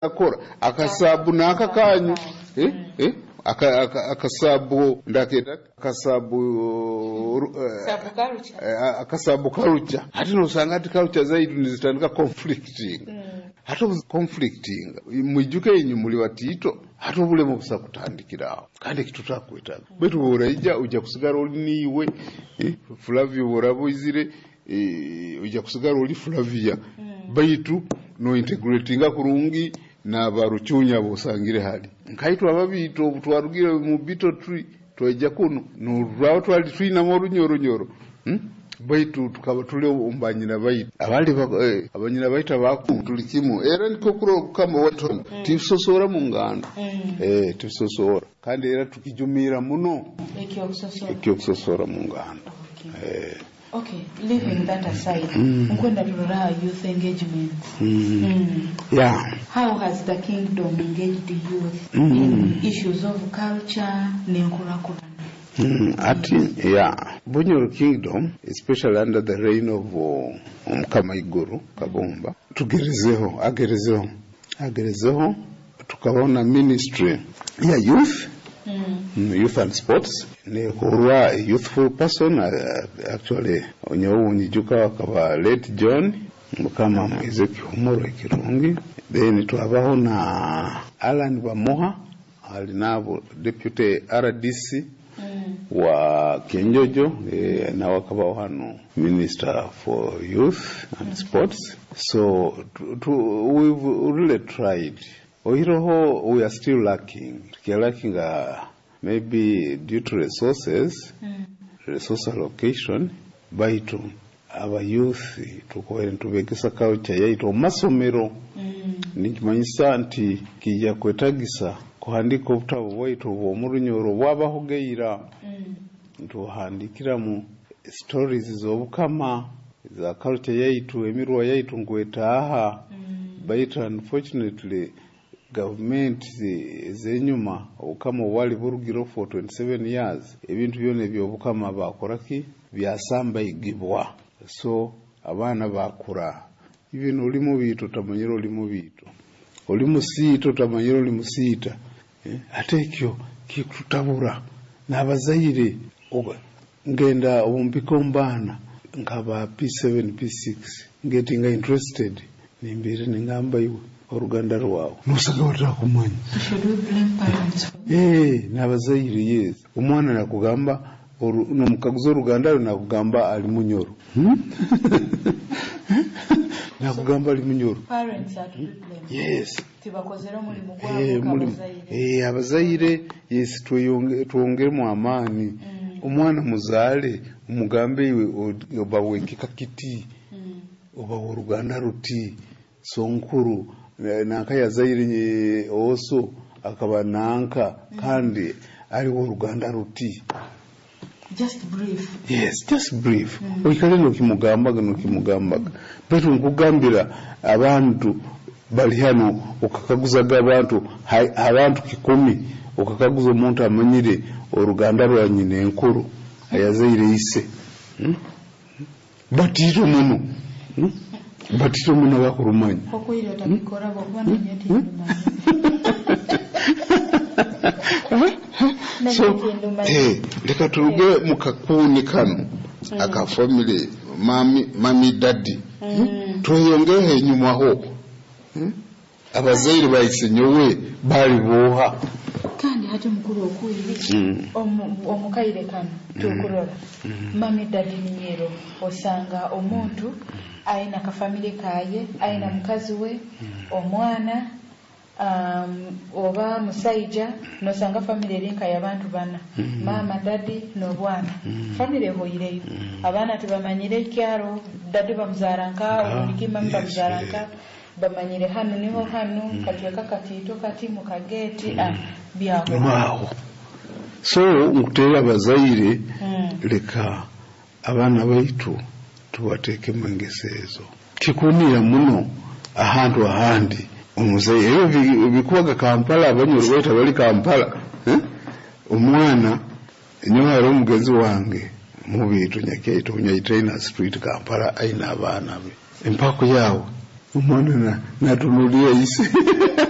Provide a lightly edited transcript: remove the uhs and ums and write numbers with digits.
Akora akasabu n'aka kanyu, eh, eh, akasabu ndaketa akasabu Sabu culture. Akasabu culture. Hati nosanga ati culture zaitu nizitandika conflicting. Hati conflicting, mwijuke inyu muli batito, hati obulemu busa kutandikiraho kandi ekitutakwetaga, baitu bworaija ojja kusigara oli niiwe, eh, Flavia. Bworaba oizire, ojja kusigara oli Flavia, baitu no integratinga kurungi n'abarucunya bosangire hali nkaitwe ababiito. Obu twarugire mu bito tree twaija kuno, norwaba twali twinamu orunyoronyoro, Baitu tukaba tuli omu banyina baitu abali abanyina baitu abaku tuli kimu, era nikwo kurora obukama waitu titusosora mu nganda, titusosora, kandi era tukijumira muno. Ekyokusosora. Ekyokusosora mu nganda. Okay, leaving that aside, nkwenda turora youth engagement. How has the kingdom engaged youth in issues of culture n'enkurakurana? Ati yeah, Bunyoro Kingdom, especially under the reign of Omukama Iguru Kabumba, tugerezeho, agerezeho, agerezeho, tukabaho na ministry ya youth, youth and sports, nekorwa a youthful person, actually onyowe nyijuka akaba late John, Mukama amwize ekihumuro ekirungi. Then twabaho na Alan Bamuha ali nabo deputy RDC wa Kyenjojo, nawe akabaho hano minister for youth and sports. So we've really tried. Oiroho we are still lacking, tukia maybe due to resources, resource allocation, baitu aba youth tukoere nitubegesa culture yaitu omu masomero. Nikimanyisa nti kijja kwetagisa kuhandika obutabo bwaitu obw'omurunyoro bwabahogeira, ntuhandikiramu stories z'obukama, za culture yaitu, emirwa yaitu nkwetaaha. Baitu unfortunately gavumenti ez'enyuma, obukama obwali burugire for 27 years, ebintu byona ebyobukama bakoraki byasambaigibwa. So abaana bakura even oli mubiito otamanyire oli mubiito, oli musiita otamanyire oli musiita, eh? Ate ekyo kikututabura n'abazaire. Ngenda obumpika omu baana nkaba P7 P6 getting interested, nimbiire ningamba, "Iwe oruganda rwawe," nosanga batakumanya. So should we blame parents for Eh, n'abazaire, yes. Omwana nakugamba nomukaguza oruganda rwe, nakugamba ali Munyoro, Nakugamba ali Munyoro. Parents are to be blamed? Yes. Tibakozere omulimu Eh, gwabo? Mulimu. Kabazaire. Eh, abazaire, yes, twongeremu amaani. Omwana muzaale, umugambe, "Iwe oba wekika kiti, oba oruganda ruti, sonkuru nanka yazaire oso akaba nanka, kandi aliwo oruganda ruti." Just brief. Yes, just brief. Oikale nokimugambaga, nokimugambaga. Baitu nkugambira abantu bali hano, okakaguzaga abantu, abantu 10, okakaguza omuntu amanyire oruganda rwa nyina enkuru ayazaire ise, Batito muno, Batito muno bakurumanya. Okwire otabikora bwokuba nanye tindumanya. So leka turuge mu kakuuni kano aka family, mummy, mummy, daddy, tweyongereho enyumaho, Abazaire baise nyowe bali boha? Kandi hati mukuru okwire, omukaire kano tukurora mummy daddy ninyero, osanga omuntu aina kafamily kaye, aina mukazi we, omwana, oba musaija, nosanga family eri nka y'abantu bana, mama, daddy n'obwana. Family ehoireyo, abaana tibamanyire ekyaro daddy bamuzara nka obundiki, mummy bamuzara nka, bamanyire hanu niho hanu, kacweka katiito kati mukageti, byaho. Waawo. So nkuteera abazaire, leka abaana baitu tubateekemu engeso ezo. Kikunira muno ahantu ahandi omuzaire ebyo bikubaga Kampala, Abanyoro baitu abali Kampala, eh? Omwana nyowe hariho omugenzi wange mubiito Nyakyaito Nyaitaina Street, Kampala, aina abaana be, empako yawe omwana natunuulira ise.